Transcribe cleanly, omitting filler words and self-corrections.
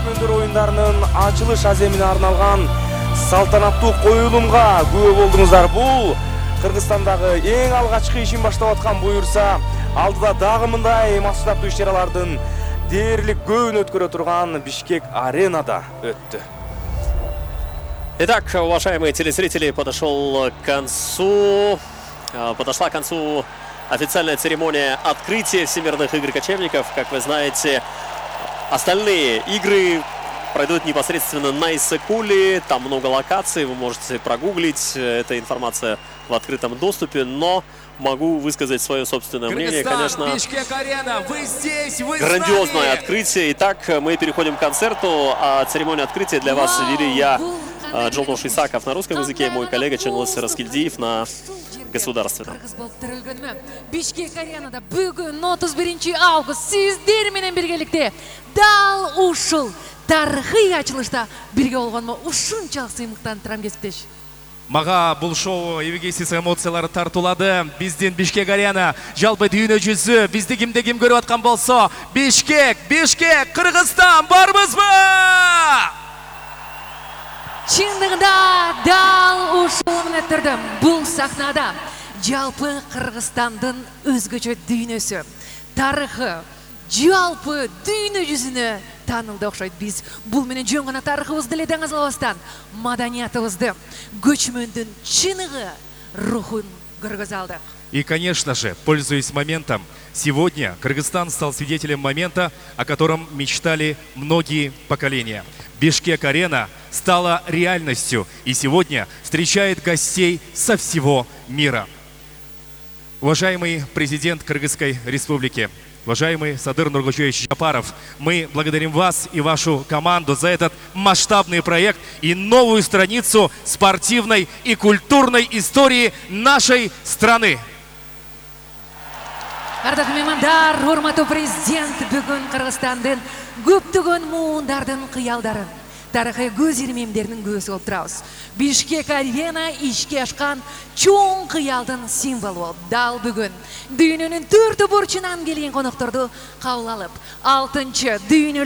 көчмөндөр оюндарынын ачылыш аземине арналган салтанаттуу коюлумга күбө болдуңуздар. Бул Кыргызстандагы эң алгачкы ишин баштап аткан буюрса, алдыда дагы мындай масштабдуу иш-чаралардын дээрлик көбүн өткөрө турган Бишкек аренада өттү. Итак, уважаемые телезрители, подошла к концу официальная церемония открытия Всемирных игр кочевников. Как вы знаете, остальные игры пройдут непосредственно на Иссык-Куле. Там много локаций, вы можете прогуглить. Эта информация в открытом доступе, но могу высказать свое собственное мнение. Конечно, грандиозное открытие. Итак, мы переходим к концерту. А церемонию открытия для вас вели я, Жолдош Исаков на русском языке, мой коллега Чыңгыз Раскелдиев на государственном. Бишкек аренада бүгүн 31 август сиздер менен биргеликте дал ушул тарыхый ачылышта бирге болгонума ушунчалык сыймыктанып турам кесиптеш. Мага бул шоу эбегейсиз эмоциялар тартуулады. Биздин Бишкек арена жалпы дүйнө жүзү бизди кимде ким көрүп аткан болсо, Бишкек, Кыргызстан барбызбы? Чындыгында дал ушул менен турдум. Бул сахнада жалпы Кыргызстандын өзгөчө дүйнөсү, тарыхы, жалпы дүйнө жүзүнө таанылды окшойт. Биз бул менен жөн гана тарыхыбызды эле даңазалабастан, маданиятыбызды, көчмөндүн чыныгы, рухун көргөзө алдык. И, конечно же, пользуясь моментом, сегодня Кыргызстан стал свидетелем момента, о котором мечтали многие поколения. Бишкек-арена стала реальностью и сегодня встречает гостей со всего мира. Уважаемый президент Кыргызской республики, уважаемый Садыр Нургучевич Жапаров, мы благодарим вас и вашу команду за этот масштабный проект и новую страницу спортивной и культурной истории нашей страны. Ардактуу меймандар, урматтуу президент бүгүн Кыргызстандын көптөгөн муундардын кыялдарын, тарыхый көз ирмемдеринин көзү болуп турабыз. Бишкек арена ишке ашкан чоң кыялдын символу. Дал бүгүн дүйнөнүн төртү бурчунан келген конокторду кабыл алып, 6-дүйнөлүк